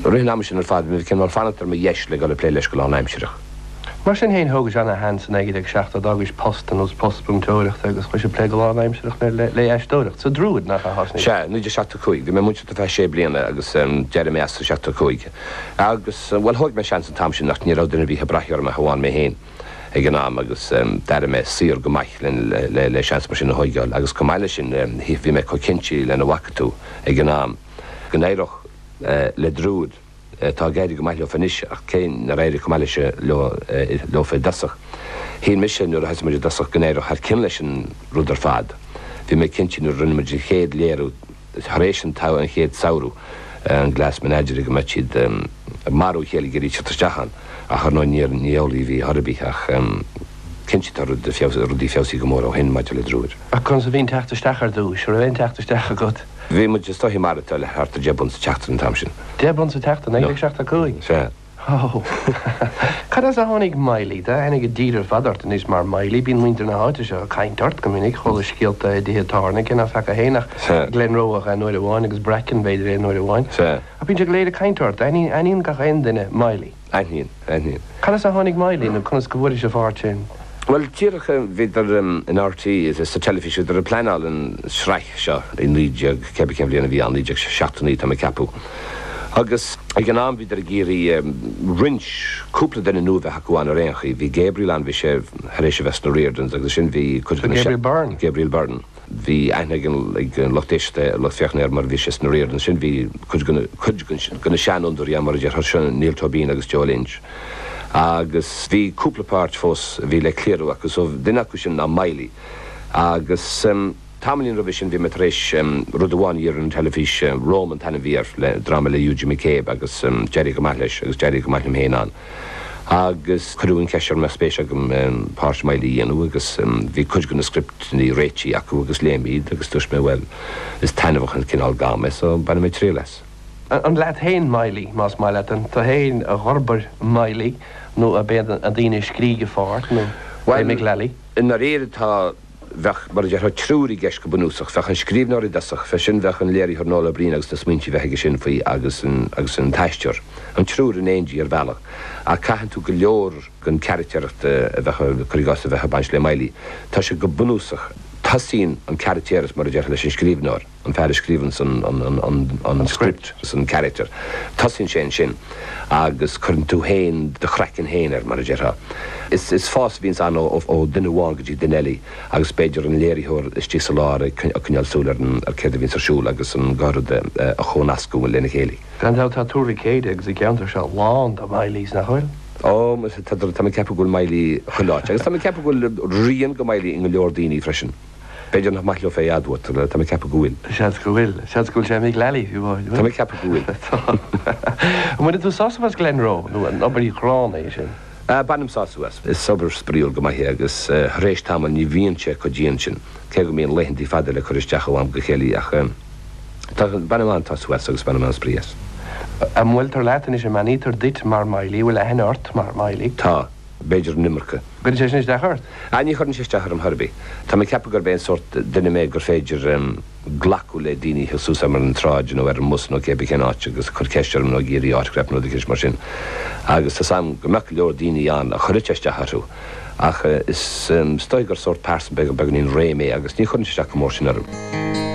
I rith an ama sin ar fad, bhí mé cineál fanacht ar mo dheis le dul ag plé leis go lánaimsireach. Mar sin féin, thógais ana-sheans i 1970, d'fhágais post ar nós post múinteoireachta agus chuais ag plé go lánaimsireach le aisteoireacht sa Druid, nach ea, thosnaís? Sea, 1975. Bhí mé ag múinteoireacht ar feadh sé bliana agus d'éirigh mé as i 75. Agus, bhuel, thóig mé seans an t-am sin ach ní raibh duine ar bith ag brath orm ach amháin mé féin ag an am agus d'airigh mé saor go maith le seans mar sin a thóigeáil. Agus chomh maith leis sin, bhí mé chomh cinnte lena bhfaca tú ag an am go n-éireodh le Druid. Tá ag éirí go maith leofa anois ach cé nár éirigh chomh maith leis leo leofa i dtosach, shíl mise nuair a thosaigh muid i dtosach go n-éireodh thar cionn leis an rud ar fad. Bhí mé cinnte nuair a rinne muid an chéad léiriú tar éis an an chéad samhradh, an Glass Menagerie, go mbeadh siad ag marú a chéile ag iarraidh teacht isteach ann ach ar ndóigh níor ní amhlaidh a bhí chor ar bith ach cinnte tá rud rudaí feabhsaithe go mór ó shin maidir le Druid. Ach conas a bhí an teacht isteach ar dtúis? An raibh aon teacht isteach agat? Bhí muid is dóichí maireachtáil le thart ar 10 bpunt sa tseachtain an t-am sin. 10 bpunt sa tseachtain, 1975? Sea. Ó. Cad as a tháinig Miley? Tá aithne ag an dtír ar fad ort anois mar Miley. Bíonn muintir na háite seo ag caint ort go minic. Chuala scéalta i dtithe tábhairne, cé ná feaca féin ach Sea. Glenroe ach aon uair amháin agus Bracken b'fhéidir aon uair amháin. Sea. Ach bíonn siad go léir ag caint ort. Aithníonn gach aon duine Miley. Aithníonn, aithníonn. Cad as a tháinig Miley nó conas go bhfuairis an pháirt sin? Bhuel, díreach, bhíodar in RTÉ, sa teilifís, bhíodar ag pleanáil an sraith seo i 19, cébí cén bhliain a bhí ann, 1979 tá mé ag ceapadh. Agus ag an am bhíodar ag iarraidh roinnt, cúpla duine nua a bheith acu ann ar aon chaoi. Bhí Gabriel ann, bhí sé tar éis a bheith sna Riordans agus ansin bhí cuid de na. Gabriel Byrne? Gabriel Byrne. Bhí aithne ag an lucht éisteachta, lucht féachana air mar bhí sé sna Riordans. Ansin bhí cuid de na, cuid de na seanfhondúirí ann mar a déarfá, sin Niall Tóibín agus Joe Lynch. Agus bhí cúpla páirt fós a bhí le cliarú acu so duine acu sin ná Miley. Agus tamaillín roimhe sin bhí mé tar éis rud amháin a iarraidh ar an teilifís, Rome an t-ainm a bhí air, le, dráma le Eugene McCabe agus d'éirigh go maith leis agus d'éirigh go maith liom féin ann. Agus cuireadh an cheist orm an mbeadh spéis agam páirt Miley a dhéanamh agus bhí cuid de na scripteanna réitithe acu agus léigh mé iad agus dúirt mé bhuel, is taitneamhach an cineál gairm é so bainfidh mé triail as. An leat féin Miley, más maith leat, an tú féin a dh'fhorbair Miley nó ab iad na daoine a scrígh an pháirt nó Bhuel, Mick Lally? i ndáiríre tá, bheadh, mar a déarfá, triúr i gceist go bunúsach. Bheadh an scríbhneoir i dtosach, fé sin bheadh an léiritheoir Noel Ó Briain agus na smaointe a bheith aige sin faoi agus an, agus an t-aisteoir. An triúr in éindí ar bhealach. Ach caitheann tú go leor den characteracht a bheadh, cuir i gcás, a bheadh ag baint le Miley. Tá sé go bunúsach, tosaíonn an caractéras, mar a déarfá, leis an scríbhneoir. an fear a scríobhanns an script agus an character, tosaíonn sé ansin agus cuireann tú féin do chraiceann féin air, mar a déarfá. Is fás a bhíonns ann ó duine amháin go dtí duine eile agus b'fhéidir an léiritheoir istigh sa lár ag coinneáil súil ar an ar céard a bhíonns ar siúl agus an dhá rud a chomhnascadh lena chéile. Gan dabht tá Tuar Mhic Éadaigh agus an ceantar seo lán de Mileys, nach bhfuil? Ó, tá, tá mé ag ceapadh go bhfuil Miley chuile áit agus tá mé ag ceapadh go bhfuil rian de Miley i ngo leor daoine freisin. B'fhéidir nach maith leo é a admháil, tá mé ag ceapadh go bhfuil. Seans go bhfuil. Seans go bhfuil sé i Mick Lally, fiú amháin. Tá mé ag ceapadh go bhfuil. Tá. An mbaineann tú sásamh as Glenroe, nó an obair ghránna é sin? Bainim sásamh as. Is obair spraíúil go maith é agus tar éis tamaill ní bhíonn sé chomh dian sin, cé go mbíonn laethantaí fada le cur isteach ó am go chéile ach tá, bainim an-sásamh as agus bainim an-spraoi as. An mbuailtear leat anois, an mbeannaítear duit mar Miley, an bhfuil aithne ort mar Miley? Tá. B'fhéidir an iomarca. Cuireann sé sin isteach ort? Ah, ní chuireann sé isteach orm chor ar bith. Tá mé ag ceapadh gurb é an sórt duine mé gur féidir glacadh le daoine a thiocht suas orm ar an tsráid nó ar an mbus nó cébí cén áit agus ag cur ceist orm nó ag iarraidh autograph nó rud eicínt mar sin. Agus tá's a'm go mbeadh go leor daoine ann a chuirfeadh sé isteach orthu. Ach is dóigh gur sórt pearsan beag beagáinín réidh mé agus ní chuireann sé isteach chomh mór sin orm.